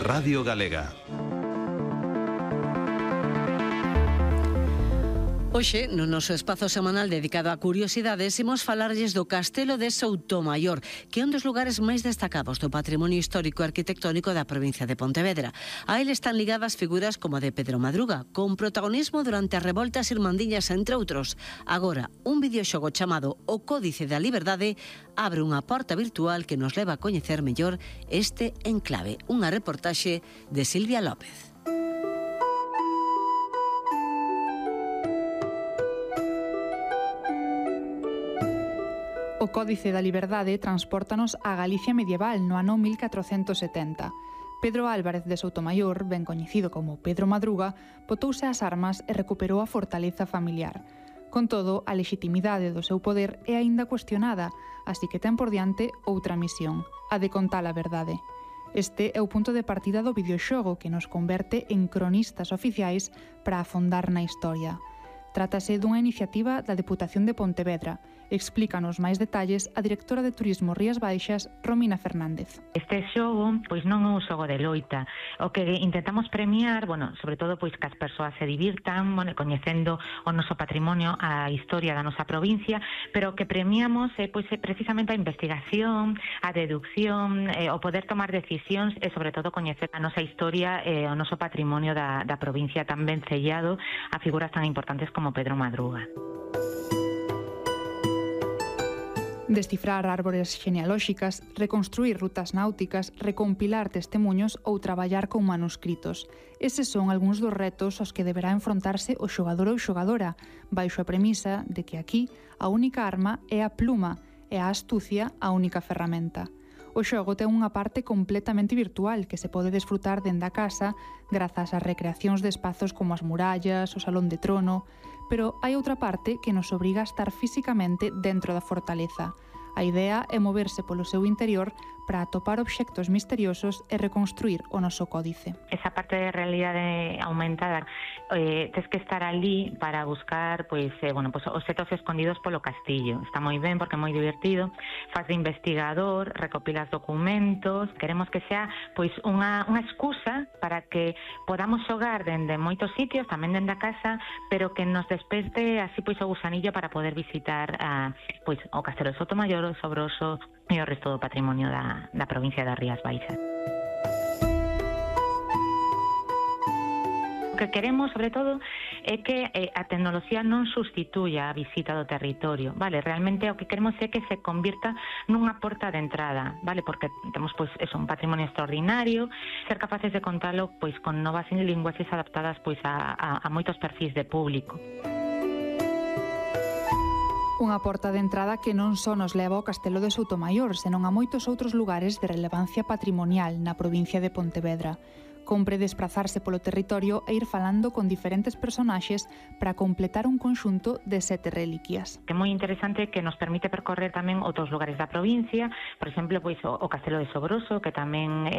Radio Galega. Hoxe, no noso espazo semanal dedicado a curiosidades, imos falarlles do Castelo de Soutomaior, que é un dos lugares máis destacados do patrimonio histórico e arquitectónico da provincia de Pontevedra. A ele están ligadas figuras como a de Pedro Madruga, con protagonismo durante as revoltas irmandiñas, entre outros. Agora, un videoxogo chamado O Códice da Liberdade abre unha porta virtual que nos leva a coñecer mellor este enclave. Unha reportaxe de Silvia López. O Códice da Liberdade transpórtanos á Galicia medieval no ano 1470. Pedro Álvarez de Soutomaior, ben coñecido como Pedro Madruga, botouse ás armas e recuperou a fortaleza familiar. Con todo, a lexitimidade do seu poder é aínda cuestionada, así que ten por diante outra misión, a de contar a verdade. Este é o punto de partida do videoxogo que nos converte en cronistas oficiais para afondar na historia. Trátase dunha iniciativa da Deputación de Pontevedra. Explícanos máis detalles a directora de Turismo Rías Baixas, Romina Fernández. Este xogo, pois non é un xogo de loita. O que intentamos premiar, sobre todo pois que as persoas se divirtan, coñecendo o noso patrimonio, a historia da nosa provincia, pero o que premiamos é precisamente a investigación, a deducción, o poder tomar decisións e sobre todo coñecer a nosa historia e o noso patrimonio da provincia tan ben sellado a figuras tan importantes como Pedro Madruga. Descifrar árbores genealóxicas, reconstruir rutas náuticas, recompilar testemuños ou traballar con manuscritos. Eses son algúns dos retos aos que deberá enfrontarse o xogador ou xogadora, baixo a premisa de que aquí a única arma é a pluma e a astucia a única ferramenta. O xogo ten unha parte completamente virtual que se pode desfrutar dende a casa grazas ás recreacións de espazos como as murallas, o Salón de Trono, pero hai outra parte que nos obriga a estar físicamente dentro da fortaleza. A idea é moverse polo seu interior para atopar obxectos misteriosos e reconstruir o noso códice. Esa parte de realidade aumentada, tes que estar ali para buscar obxectos escondidos polo castillo. Está moi ben porque é moi divertido. Faz de investigador, recopilas documentos. Queremos que sea unha excusa para que podamos xogar dende moitos sitios, tamén dende a casa, pero que nos desperte así o gusanillo para poder visitar o Castelo de Soutomaior, o Sobroso e o resto do patrimonio da provincia das Rías Baixas. O que queremos, sobre todo, é que a tecnoloxía non sustituya a visita do territorio, vale? Realmente o que queremos é que se convirta nunha porta de entrada, vale? Porque temos un patrimonio extraordinario, ser capaces de contalo con novas linguaxes adaptadas a moitos perfis de público. Unha porta de entrada que non só nos leva ao Castelo de Soutomaior, senón a moitos outros lugares de relevancia patrimonial na provincia de Pontevedra. Compre desprazarse polo territorio e ir falando con diferentes personaxes para completar un conxunto de 7 reliquias. É moi interesante que nos permite percorrer tamén outros lugares da provincia, por exemplo, o Castelo de Sobroso, que tamén